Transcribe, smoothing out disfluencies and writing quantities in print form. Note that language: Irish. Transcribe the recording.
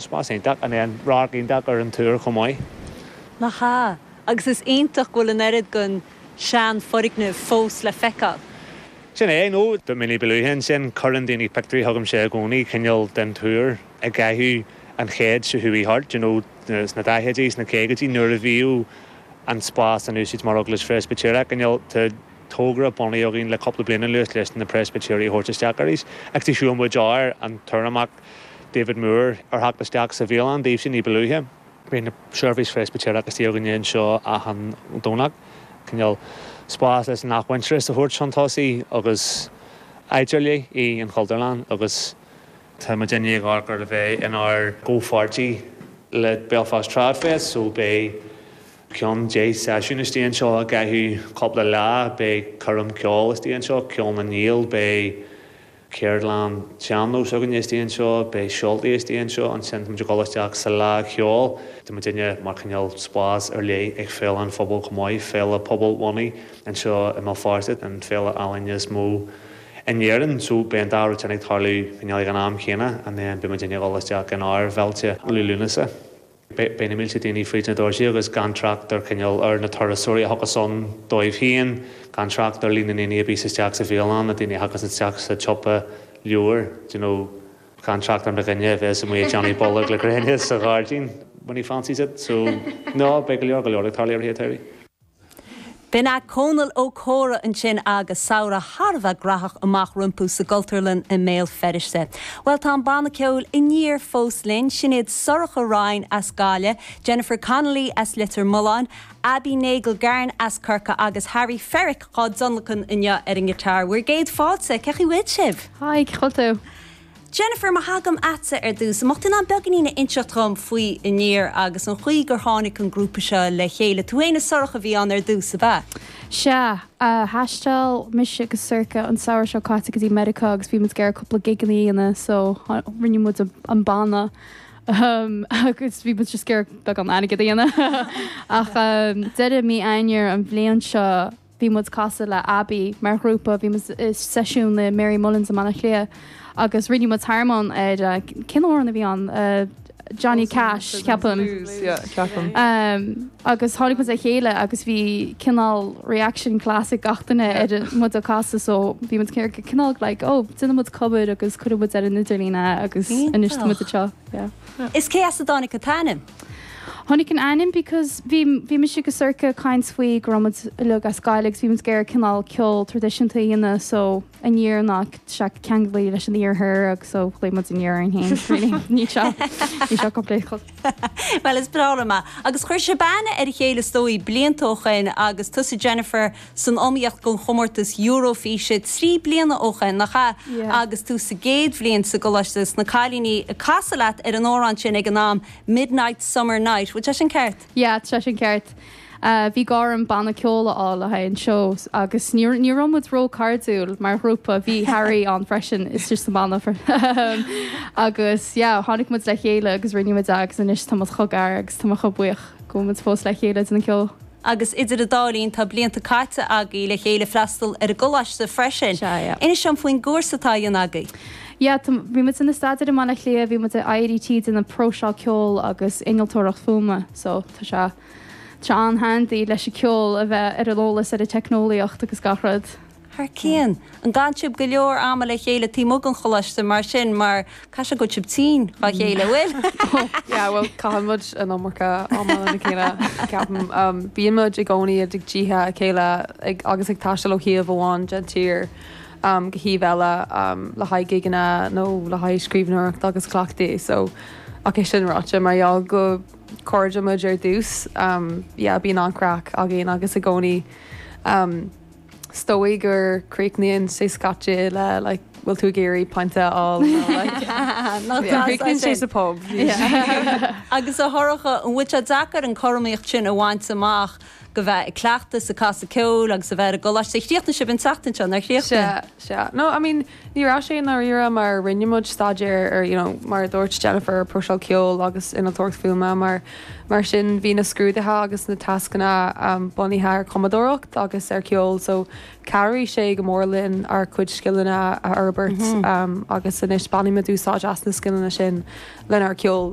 Spás iontach and then radharc iontach ar an túr chomh maith. Nach ea? Agus is iontach go bhfuil an oiread den sean-fhoirgneamh fós le feiceáil. Sin é, nó dúirt mé ní ba luaithe ansin, cuireann daoine pictiúirí chugamsa i gcónaí, cineál den túr i gcaitheamh an chéid seo chuaigh thart, you know, sna daichidí, sna caogaidí, nuair a bhíodh an spás in úsáid mar eaglais Phreispitéireach, cineál, tá togra bunaithe againn le cúpla bliain anuas leis na Preispitéirigh a thabhairt isteach arís, agus shiúil muid ar an tUrramach David Moore ar theacht isteach sa bhialann daoibhse ní ba luaithe. Bíonn seirbhís Phreispitéireach istigh againne anseo achan Domhnach, cineál spás leis an athmhuintearas a thabhairt chun tosaigh agus áit ar leith í an Chultúrlann agus tá muidinne ag amharc ar a bheith inár gcomhpháirtí le Belfast Trad Fest so beidh ceann 10 seisiún istigh anseo i gcaitheamh cúpla lá, beidh coirm ceoil istigh anseo, Ceol na nGael, beidh. Ceardlann sean-nós againne istigh anseo, beidh seoltaí istigh anseo, ansin tá muid ag dul isteach sa Fhleadh Cheoil. Tá muidinne mar chineál spás ar leith ag Féile an Phobail chomh maith, féile pobalbhunaithe anseo i mBéal Feirste, an féile ealaíne is mó in Éirinn. So beidh an dá rud sin ag tarlú cineál ag an am chéanna and then beidh muidinne ag dul isteach inár bhféilte Liú Lúnasa. Beidh na mílte daoine fríd na doirse agus gan trácht ar chineál ar na turasóirí a thiocfas ann dóibh féin, gan trácht ar líon na ndaoine a bíos isteach sa bhialann, na daoine a thiocfas isteach sa tsiopa leabhar, do you know, gan trácht ar mo dhuine a bheas amuigh ag déanamh bolg le gréine sa ghairdín when he fancies it. So, no, beidh go leor go leor ag tarlú i rith an tsamhraidh. B'in é Cónall Ó Comhra ansin agus samhradh thar a bheith graitheach amach rompu sa gCultúrlann i mBéal Feirste. Bhuel, tá an banna ceoil Aniar fós linn, sin iad Sorcha Ryan as Gaillimh, Jennifer Connolly as Leitir Mealláin, Abby Nagle-Garn as Corcaigh agus Harry Ferrick dhá dtionlacan inniu ar an ngiotár. Bhur gcéad fáilte, cén chaoi a bhfuil sibh? Hi, cén chaoi a bhfuil tú? Jennifer, má thagaim a'tsa ar dtús, an mbeadh tú in ann beagáinín a inseacht dhom faoi Aniar agus an chaoi gur tháinig an grúpa seo le chéile? Tú fhéin is Sorcha a bhí ann ar dtús, ab ea? Sea. Thaistil mise agus Sorcha an samhradh seo caite go dtí Meiriceá agus bhí muid ag iarraidh cúpla gigeanna a dhéanamh so rinne muid an banna agus bhí muid just ag iarraidh beagán airgid a dhéanamh ach deireadh mí Eanáir an bhliain seo Bhí muid ag casadh le Abby mar ghrúpa, bhí muid i seisiún le Mary Mullins i mBaile Átha Cliath agus rinne muid tormán ar, cén amhrán a bhí ann? Johnny Cash, ceapaim. Blues, yeah, ceapaim. Agus tháinig muid le chéile agus bhí cineál reaction class ag gach duine ar muid ag casadh so bhí muid cineál like oh déanfaidh muid cover agus cuirfidh muid ar an idirlíon é agus anois tá muid anseo, yeah. Is cé as a dtáinig an t-ainm? Tháinig an ainm because bhí, bhí mise agus Sorcha ag caint faoi go raibh muid uilig as Gaillimh agus bhí muid ag iarraidh cineál ceol traidisiúnta a dhéanamh so aniar ná sé ceanglaithe leis an iarthar agus so ghlaoigh muid Aniar orainn féin really. Níl sé, níl sé complicated. Bhuel is breá liom é. Agus chuir sibh aithne ar a chéile is dóigh blianta ó shoin agus tusa Jennifer san iomaíocht don chomórtas Eurofíse 3 bliana ó shoin, nach ea? Yeah. Agus tú sa gcéad bhliain sa gcoláiste agus na cailíní ag casadh leat ar an amhrán sin ag an am, Midnight Summer Night. Bhfuil sé sin ceart? Yeah, tá sé sin ceart. Bhí gá orm banna ceoil a fháil le haghaidh an seó agus ní ní raibh muid ró-cairdiúil mar ghrúpa, bhí Harry ann freisin istigh sa mbanna agus yeah, tháinig muid le chéile agus rinne muid é agus anois tá muid chomh gar agus tá mé chomh buíoch go bhfuil muid fós le chéile ag déanamh ceoil. Agus idir an dá linn, tá blianta caite agaibh le chéile freastal ar an gcoláiste freisin. Sea, yeah. Inis dom faoin gcúrsa atá á dhéanamh agaibh. Yeah, tá, bhí muid ag staidéar i mBaile Átha Cliath, bhí muid i IADT ag déanamh próiseáil ceoil agus innealtóireacht fuaime, so tá sé, tá sé an-handy leis an ceol a bheith ar an eolas ar an teicneolaíocht agus gach rud. Thar cionn. An gcaitheann sibh go leor ama le chéile taobh amuigh den choláiste mar sin mar caithfidh sé go bhfuil sibh tinn dhá chéile, an bhfuil? Yeah, bhuel, caitheann muid an iomarca ama lena chéile, ceapaim. Bíonn muid i gcónaí i dtithe a chéile ag, agus ag taisteal ó thaobh amháin den tír go thaobh eile le haghaidh gigeanna nó le haghaidh scríbhneoireacht agus cleachtaí. So, ach é sin ráite, mar gheall gur cairde muid ar dtús, yeah, bíonn an-chraic againn agus i gcónaí Is dóigh gur críochnaíonn sé scaití le like bhfuil tú ag iarraidh pint a fháil nó like Nach deas é críochnaíonn sé sin. sa pub. Agus a Shorcha, an bhfuil sé deacair an cothromaíocht sin a bhaint amach go bheith ag cleachtadh is ag casadh ceoil agus a bheith ar an gcoláiste? Chríochnaigh sibh an tseachtain seo, nár chríochnaigh? Sea, sea. No, I mean, Ní raibh sé i ndáiríre mar rinne muid staidéar ar you know mar a dúirt Jennifer próiseáil ceoil agus innealtóireacht fuaime mar mar sin bhí na scrúduithe agus na tascanna bunaithe ar chumadóireacht agus ar cheol so chabhraigh sé go mór linn ár cuid scileanna a fhorbairt agus anois bainimid úsáid as na scileanna sin lenár ceol.